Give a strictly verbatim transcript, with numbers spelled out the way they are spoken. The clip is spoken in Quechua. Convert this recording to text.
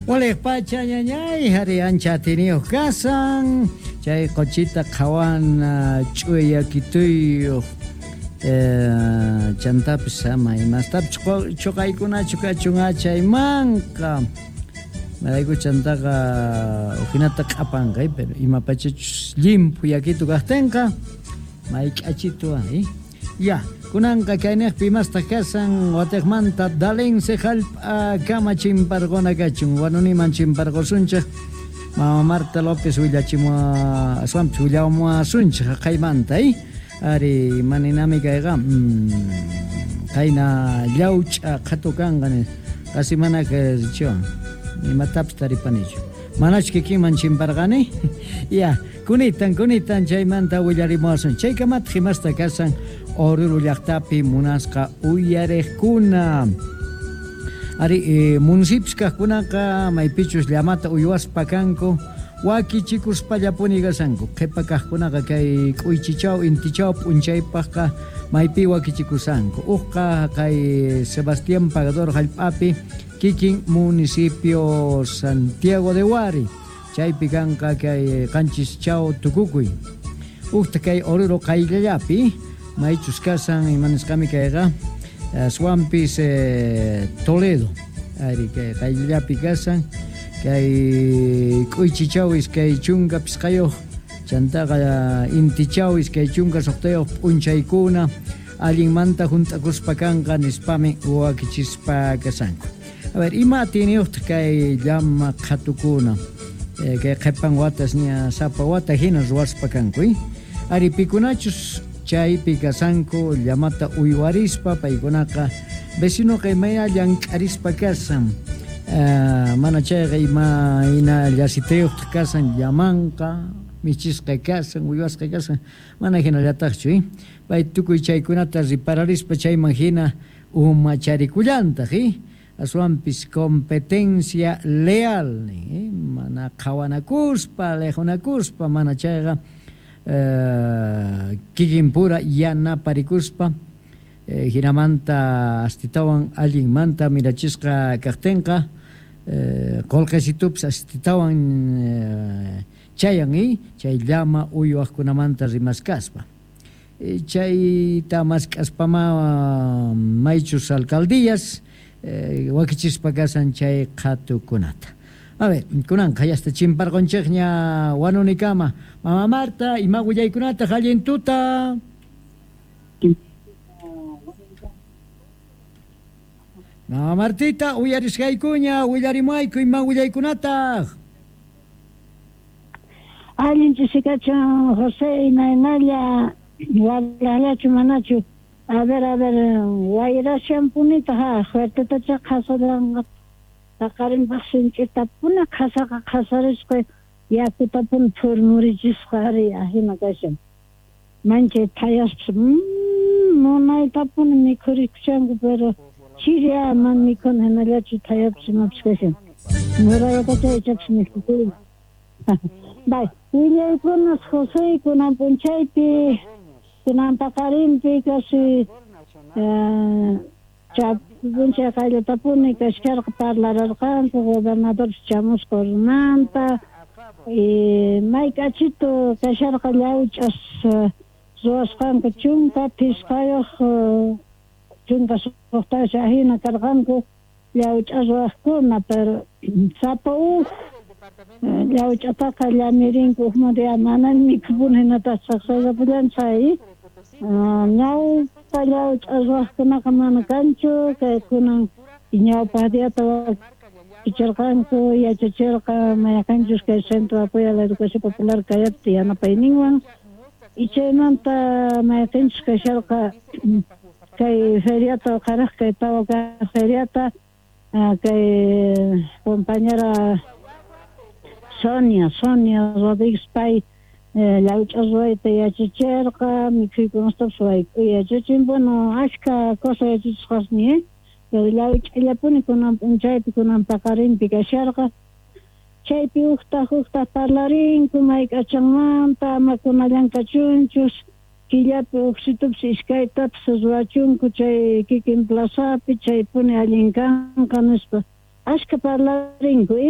Waliq pacha ñañay hari ancha atiniyuq kasan chay quchita qhawana ch'uyakituyuq eh, chantapis ama imastapis chuqaykunachu kachun achaymanqa marayku chantaqa ujinata q'apanqa pero ima pachachus llimphu yakitu kaqtinqa mayk'achitu eh? Ya, kunanqa kayniqpi imastaq kasan watiqmanta dalense hallp'a kama chimparquna kachun wanuniman chimparqusunchik Mama Marta López willachimua aswanpis willamuwasunchik haqaymanta eh? Ari maninami kayqa mm, qayna llawch'a qhatu kanqa qasi mana chiwan imatapis taripanichu manachu kikinman chimparqani ya kunitan kunitan chaymanta willarimuwasun chaykamataq imasta kasan Oruro llaqtapi munasqa uyariqkuna ari eh, municipios kaqkunaqa maypichus llamata uywaspa kanku wakichikuspallapuni kasanku qhipa kaqkunaqa kay k'uychichaw intichaw p'unchaypaqqa maypi wakichikusanku uqqa kay Sebastián Pagador hallp'api kikin municipio Santiago de Huari chaypi kanqa kay qanchis chaw tukukuy uqta kay Oruro qayllallapi maychus kasan imanisqami kayqa aswanpis eh, Toledo ari kay qayllallapi kasan kay k'uychichaw iskay chunka pisqayuq chantaqa intichaw iskay chunka suqtayuq p'unchaykuna allinmanta hunt'akuspa kanqa nispami wakichispa kasanku. A ver, ima atiniyuqtaq kay llama qhatukuna eh, kay qhipan watas ña sapa wata hina ruwaspa kanku eh? Ari pikunachus chaypi kasanku llamata uywarispa paykunaqa vecinoqa imaya llank'arispa kasan uh, mana chayqa ima hina llasitayuqtaq kasan llamanqa michisqa kasan uywasqa kasan mana hinallataqchu eh? Pay tukuy chaykunata ripararispa chayman hina umacharikullantaq eh? Aswanpis competencia leal eh? Mana qhawanakuspa liqhunakuspa mana chayqa eh, kikinpura yanaparikuspa eh, hinamanta astitawan allinmanta mirachisqa kaqtinqa eh, qullqisitupis astitawan eh, chayan eh? Chay llama uywaqkunamanta rimaskaspa eh, chayta mask'aspama maychus alcaldías eh, wakichispa kasan chay qhatukunata. A ver, kunanqa yasta chimparqunchikña wanunikama. Mama Marta, ima willaykunataq allin tuta? Mama Martita, uyarisqaykuña, willarimuayku ima willaykunataq. Allin chisikachun, José, imaynalla, walallachu manachu. A ver, a ver, wayrashanpunita ha, fuertetacha qhasaranqa. Paqarinpaq sinch'itapuna qhasaqa qhasarisqa yakutapuna phurmurichisqa ari ahina kashan. Manchay thayaspas munaytapuni mikhurikushanku pero chiri mana mikhuna hinallachu thayapas imapas kashan. Murayatacha ichapas mikhukuyman. Bay, willaykunas José kunan p'unchaypi kunan paqarinpi casi p'unchay qayllatapuni kashkarqa parlararqanku gobernador chamusqa Orurumanta y mayk'achitu kasharqa llawch'as ruwasqanku chunka phisqayuq chunka suqtayuq ahina karqanku llawch'a ruwaqkuna pero sapa uj llawch'ataqa llamirinku ujmanta mana mikhupuni hinataq saqsayapullan chay ñawpa llawch'a ruwaqkunaqa mana kanchu kay kunan ñawpaq diyata wakichirqanku yachachirqa mayqanchus kay Centro de Apoyo a la Educación Popular kayapti yanapayninwan y chaymanta mayqinchus kasharqa kay feriata uqharaq kay tawa kaq feriata kay compañera Sonia, Sonia Rodríguez pay llawch'a ruwayta yachachirqa mikhuykunastapis wayk'uy yachachin bueno ashka cosa yachachisqasmi eh pero llawch'allapuni kunan p'unchaypi kunan paqarinpi kasharqa chaypi uqtaq uqtaq parlarinku mayk'achanmanta ama kunallan kachunchus killapi uqsitupis iskaytapis ruwachunku chay kikin plazapi chaypuni allin kanqa nispa ashka parlarinku eh.